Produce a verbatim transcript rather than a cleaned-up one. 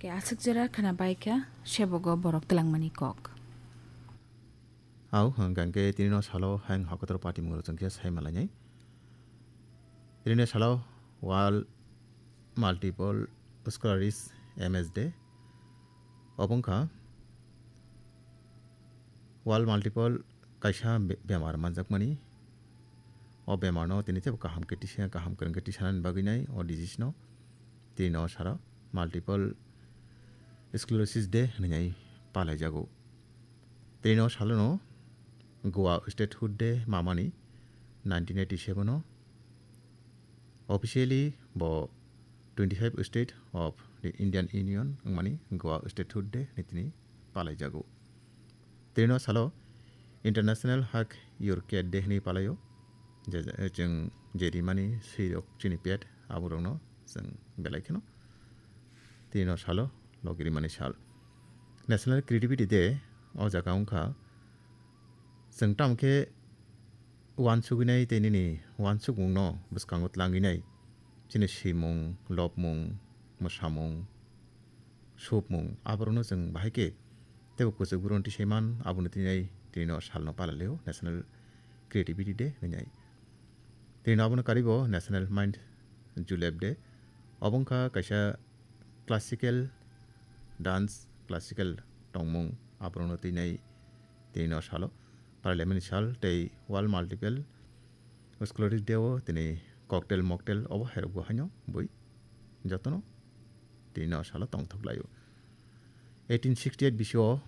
Ke aswk jora khana bai kha, sebogo borok twlangmani kok. Au, hwnkha hwnkhe tini no salo hayung hakotor party mungro chwng khe sai malainai. Tini no salo World Multiple Sclerosis, M S Day. Obo wngkha World Multiple kaisa be-, bemar manjakmani. O bemar no tini tebo kaham khe tisa, kaham kwrwng khe tisanani bagwi nai o disease no. Tini no salo Multiple Sclerosis Day hwnwi nai palaijago. Tini no salo no Goa Statehood Day mamani nineteen eighty-seven o. Officially bo twenty-five State of the Indian Union wngmani Goa Statehood Day hwnwi tini palaijago. Tini no salo International Hug Your Cat Day hwnwi palaio. Je, je, chwng je rimani swi rok chini pet abo rok no chwng belai kheno tini no salo logi rimani sal. National Creativity Day o jaga wngkha chwng tamo khe uansugwi nai tei nini uansukmung no bwskango tlangwi nai. Chini swimung, lobmung, mwsamung, supmung, aborokno chwng bahai khe teibo kwchwk bwrwng tisai man, abono tini nai tini no salno palailio National Creativity Day hwnwi nai. Tini no abono karibo National Mind Julep Day. Obo wngkha kaisa classical dance, classical tongmung, aborokno tini nai tini no salo palailaimani sal tei World Multiple Sclerosis Day o tini cocktail mocktail obo hairok bo haino bui jotono tini no salo tongthok laio. Eighteen sixty-eight bisio